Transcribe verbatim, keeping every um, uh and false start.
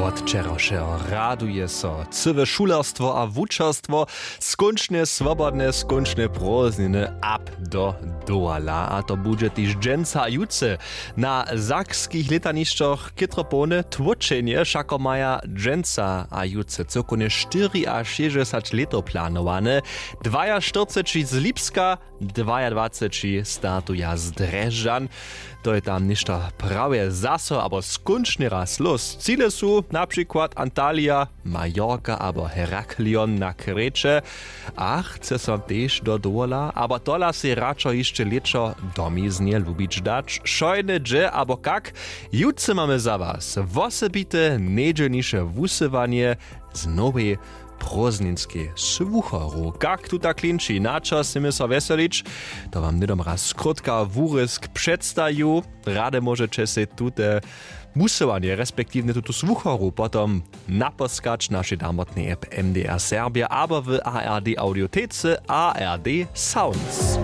Wot wčerawšeho raduje so cyłe šulerstwo a wučerstwo. Skónčnje swobodne, skónčnje prózdniny, ab do dołala. A to budźe tež dźensa a jutře. Na sakskich lětanišćach chětro połny tłóčenje. Wšako maja dźensa a jutře cyłkownje štyriašěsćdźesać lětow planowane. Dwajaštyrceći z Lipska, dwajadwaceći startuja z Drježdźan. To je tam něšto prawje zaso abo skónčnje raz lós. Cile su na přikład Antalija, Mallorca abo Heraklion na Kreće. A chce so tež do dowola, abo tola sej radšo hišće lěćo domiznje lubić dać? Wšojne hdźe abo kak? Jutře mamy za was wosebite njedźelniše wusyłanje z nowej prózdninskej słucharu. Kak tuta klinči, na čas směmy so wjeselić? To wam hnydom raz krótka wurězk předstaju. Rady móžeće sej tute wusyłanje respektiwnje tutu słucharu potom napóskać w našej damotnej app M D R Serbia abo w A R D Audiotece A R D Sounds.